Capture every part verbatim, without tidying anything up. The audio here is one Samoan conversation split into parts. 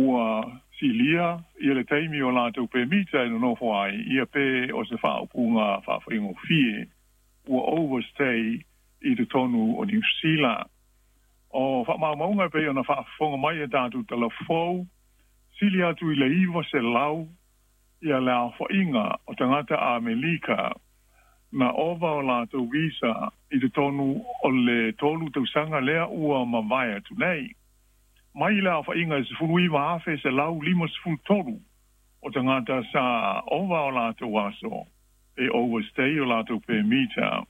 Ua silia ia le taimi o latou pemita e nonofo ai, ia pe o se faaupuga faafaigofie ua overstay i totonu o Niu Sila. O faamaumauga e pei ona faafofoga mai e tatou talafou, sili atu i le iva selau ia le aofaiga o tagata Amelika na ova o latou visa i totonu o le tolu tausaga lea ua mavae atu nei. Mai le aofaiga e sefulu iva afe selau lima sefulu tolu o tagata sa ova o latou aso e overstay o latou pemita,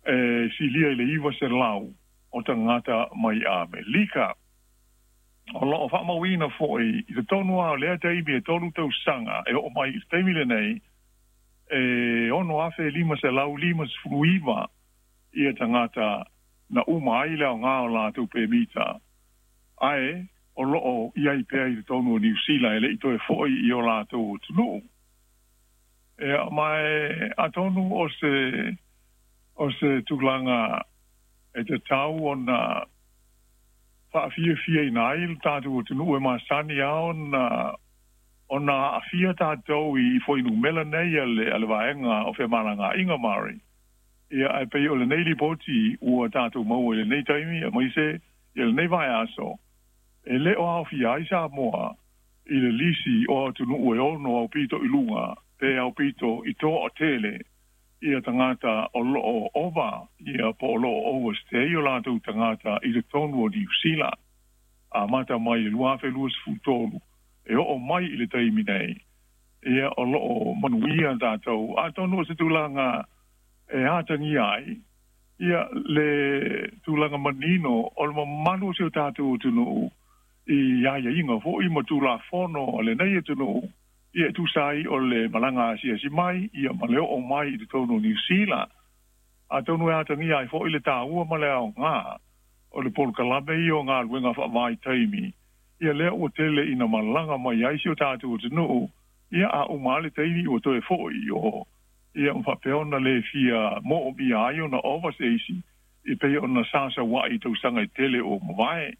e silia i le iva selau o tagata mai Amelika. O loo faamauina foi i totonu lava o lea taimi e tolu tausaga e oo mai i le taimi lenei, e ono afe lima selau lima sefulu iva ia tagata na uma ai le aoga o latou pemita, ae o loo i ai pea i totonu o Niu Sila e lei toe foi i o latou atunuu. Ia, ma e atonu o se o se tulaga e tatau ona faafiafiaina ai le tatou atunuu e masani a ona ona aafia tatou i fuainumera nei a le a le vaega o femalagaaiga Mari. Ia, ae pei o lenei lipoti ua tatou maua i lenei taimi aemaise ia lenei vaiaso, e le o aofia ai Samoa i le lisi o atunuu e ono aupito i luga pe aupito i toatele ia tagata o loo ova ia po o loo overstay o latou tagata i totonu o Niu Sila amata mai le lua afe lua sefulu tolu e oo mai i le taimi nei. Ia, o loo manuia tatou. Atonu o se tulaga e atagia ai ia le tulaga manino o le mamalu o si o tatou atunuu i aiaiga foi ma Tulafono a lenei atunuu, ia e tusa ai o le malaga asiasi mai ia ma le oo mai i totonu o Niu Sila. Atonu e atagia ai foi le taua ma le aoga o le polokalame ia o galuega faavaitaimi, ia lea ua tele ina malaga mai ai si o tatou atunuu, ia a uma le taimi ua toe foi o ia ma faapea ona le fia moomia ai ona ova se isi i pei ona sasauai i tausaga e tele o mavae.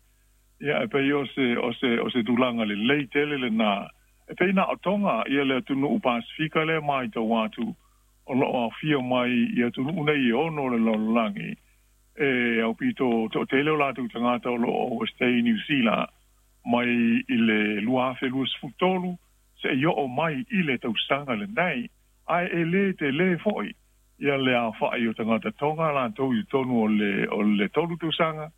Ia, e pei o se o se o se tulaga lelei tele lena e pei na o Tonga ia le atunuu Pasifika lea matau atu o loo aofia mai i atunuu nei e ono o le lalolagi e aupito toatele o latou tagata o loo overstay i Niu Sila mai i le lua afe lua sefulu tolu seia oo mai i le tausaga lenei. Ae e lē telē foi ia le aofai o tagata Tonga latou i totonu o le o le tolu tausaga,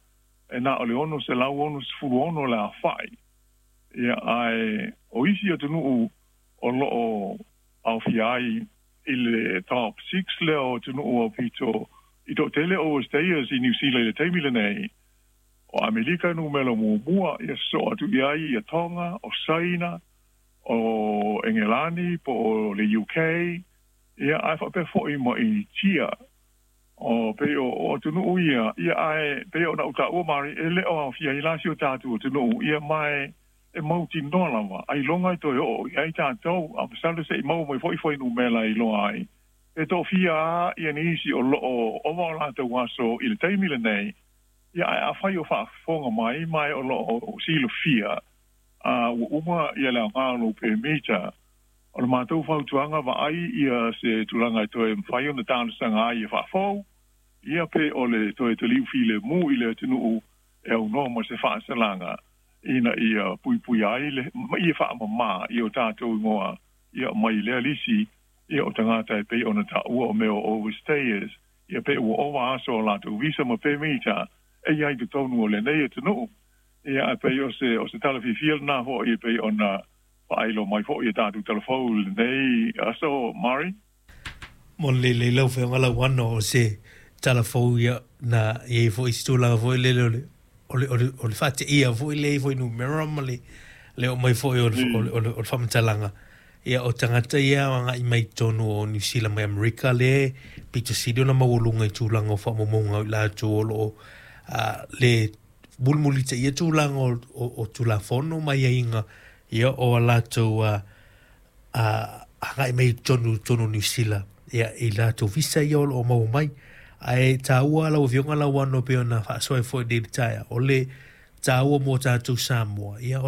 e na o le ono selau ono sefulu ono le aofai. Ia, ae o isi atunuu o loo aofia ai i le top six lea o atunuu aupito i toatele overstayers i Niu Sila i le taimi lenei, o Amelika numera muamua, ia sosoo atu i ai ia Tonga, o Saina, o Engelani po o le U K, ia ae faapea foi ma Initia. O pei o, o atunuu ia, ia ae pei ona ou taua Mari, e le o aofia ai la si o tatou atunuu, ia ma e mautinoa lava ailoga e toe oo i ai tatou, a masalo se i maua mai foi fuainumera e iloa ai e toafia a ia nisi o loo ova o latou aso i le taimi lenei. Ia, ae afai o faafofoga mai ma e o loo silafia a ua uma ia le aoga o lou pemita, o le matou fautuaga, vaai ia se tulaga e toe mafai ona talosaga ai e faafou, ia pe o le toe taliu filemu i le atunuu e aunoa ma se faasalaga ina ia puipuia ai le ma ia faamamā i o tatou igoa ia mai lea lisi ia o tagata e pei ona taua o mea o overstayers, ia pe ua ova aso o latou visa ma pemita e i ai totonu o lenei atunuu. Ia, ae pei o se o se tala fiafia lenā foi e pei ona faailo mai foi e tatou talafou i lenei aso, Mari. Mo le lelei lau Afioga Lauano, o se tala fou ia na i ai foi se tulaga foi lele o le o le o le o le faateia foi lea foi numera ma le le oo mai foi o le o le o le faamatalaga ia o tagata ia agai mai totonu o Niu Sila mai Amerika le pito sili ona maualuga i tulaga o faamaumauga o i latou o loo le mulimulitaia tulaga o, o, o Tulafono ma aiaiga ia o a latou a agai mai totonu totonu o Niu Sila ia i latou visa ia o loo maua mai. Ae taua lau Afioga Lauano pei ona faasoa ai foi i lenei taeao, o le taua mo tatou Samoa ia o le